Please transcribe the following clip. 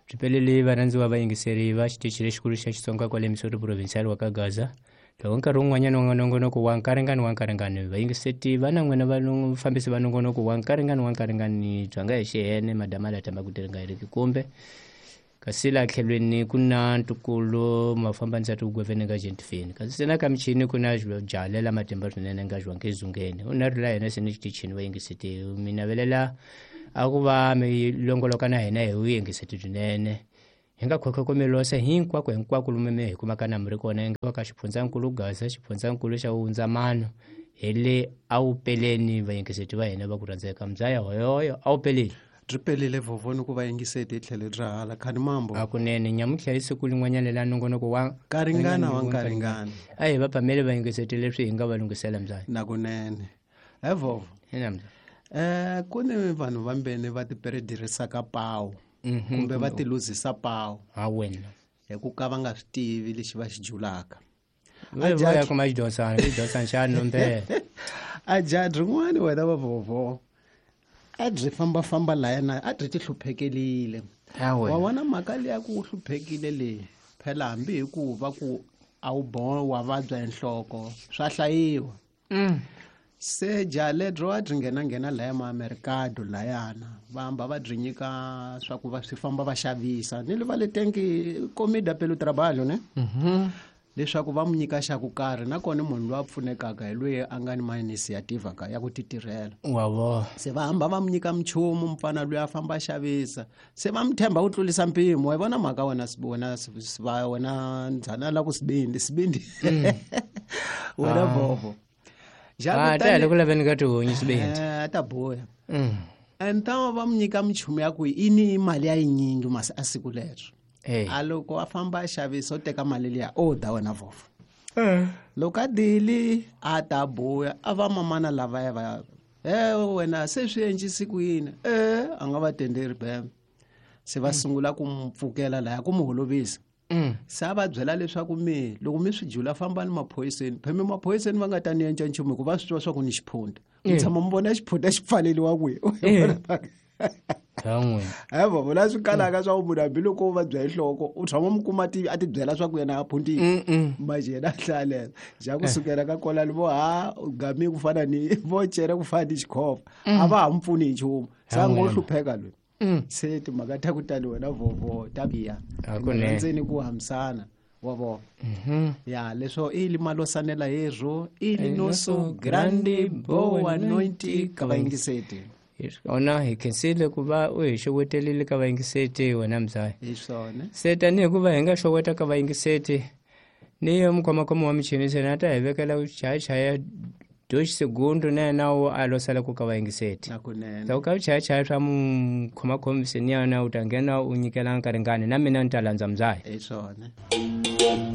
Byi pelele varhandziwa vayingiseri va xitichi lexikulu xa Xitsonga kwale Missouri Provincial wa ka Gaza. Loko nkarhi wun'wanyana wa nongonoko wa nkaringani wa nkaringani vayingiseti va na n'wina vafambisi va nongonoko wa nkaringani wa nkaringani bya nga hi xihene madama la tamba ku tirhi heriki kumbe kasi laha tlhelweni ku na ntukulu mafambanisa tigwevene nga gentifini kasi se na ka michini ku na jalela matimba swinene nga jwanke zungeni u na ri la yena se ni xitichini vayingiseti mi navelela a ku va mi longoloka na hina hi vuyingiseti byinene hi nga khokhokomelosa hinkwako hinkwako lomu mi hi kumaka na mi ri kona nga ka xifundzankulu Gaza xifundzankulu xa Wundzamano hi le a wu peleni vayingiseti va hina va ku rhandzeka mbyaya hoyoyo a wu peleni byi pelile vhovhoni ku vayingiseti hi tlhele bya hala khani mambo hakunene nyamuntlha hi siku lin'wanyana la nongonoko wa Karingana wa nkaringana a hi va phamele vayingiseti leswi hi nga va lunghisela mbyaya nakunene he vhovho ina mbyaya ku ni vanhu vambeni va tiperedirisaka pawu kumbe va tiluzisa pawu ha wena hi ku ka va nga swi tivi lexi va xi julaka va ya kuma xidyonsana xidyonsana xa nombela a jaha rin'wana wena va vhovho a byi fambafamba layana a byi ti hluphekelile wa vona mhaka leya ku u hluphekile leyi phela hambi hi ku va ku a wu wa vabya hi nhloko swa hlayiwa se jaha ledro a byi nghenanghena laya maamerikado layana va hamba va byi nyika swa ku va swi famba va xavisa ni le va le tenki comida pelo trabalho ne leswaku va mu nyika xa ku karhi nakona munhu loyi a pfunekaka hi loyi a nga ni ma-initiative ka ya ku ti tirhela wa vona se va hamba va mu nyika minchumu mufana loyi a famba a xavisa se va mu tshemba ku tlulisa mpimo wa yi vona mhaka wena wena wena ndzhana la ku sibindi sibindi wena vovo a ta hi ku laveni ka tihunyi sibindi a ta buya and ta va mu nyika minchumu ya ku i ni mali ya yinyingi masi a siku leryo a loko a famba a xavisa u teka mali liya o da wena vovo loko a dili a ta buya a va mamana lavaya va e wena se swi endlisi ku yini e a nga va tenderi bem se va sungula ku mu pfukela laya ku mu holovisa se a va byela leswaku mi loko mi swi jula fambani maphoyiseni pheme maphoyiseni va nga ta ni endla nchumu hikuva va swi tiva swa ku ni xiphunta mi tshama mi vona xiphunta xi pfaleliwa kwihi evo vona swi kalaka swa ku munhu hambiloko u vabya hi nhloko u tshama mu kuma a ti byela swa ku yena a phuntile manje yena a hlalela ja kusukela ka kolani vo ha gami ku fana ni vo cere ku fana ni xikhova a va ha mu pfuni hi nchumu se a ngo hlupheka loyi se timhaka ta ku tani wena vovo ta biha ndzeni ku hambisana wa vona ya leswo ili malosanela hezvo ili noso grande boa noite ka vayingiseti hi swona hi khensile ku va u hi xowetelile ka vayingiseti wena mzaya hi swona se tanihi ku va hi nga xoweta ka vayingiseti ni yo mukhomakhoma wa michini se na ta hi vekela ku chayachaya dois segundo na yena wo a losala ku ka vayingiseti nakunene ku ka chayachaya swa mukhomakhomi se ni yena u ta nghena u nyikela nkaringani na mina ni ta landza mzaya hi swona.